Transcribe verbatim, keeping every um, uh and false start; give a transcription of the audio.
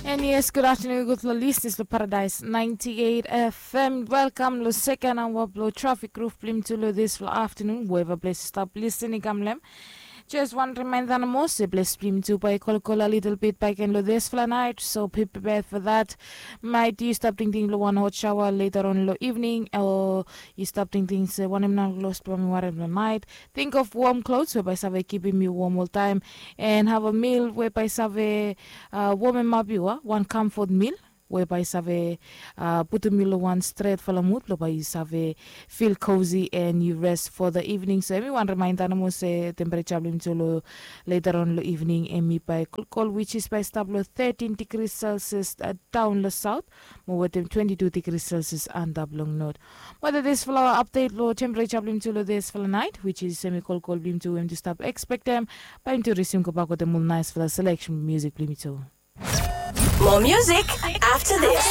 And yes, good afternoon, gutpela listeners lo Paradise ninety-eight F M. Welcome lo second hour blo Traffic Roof blo yumi tu lo this lo afternoon, wherever place you stop listening, kam lem. Just one reminder, na mos e place blo yumi tu by kolkol a little bit back in lo this fla night, so be prepared for that. Might you stop thinking lo one hot shower later on lo evening, or you stop thinking se wanem na close blo mi warem lo night. Think of warm clothes wey by save keeping you warm all time, and have a meal wey by save uh, warm him up you, uh, one comfort meal wey by save uh, putum you lo one stretfala mood lo by you save feel cozy and you rest for the evening. So everyone reminder na mos se temperature blo yumi tu lo later on lo evening, emi by kolkol, which is by stop lo thirteen degrees Celsius uh, down lo south, mo wetem twenty-two degrees Celsius anda blong north. Whether this flower update lo temperature blo yumi tu lo this fala night, which is semi kolkol blo yumi tu, em tu stop expect them by yumi tu resume go back with them all nice fala selection music blo yumi tu. More music after this.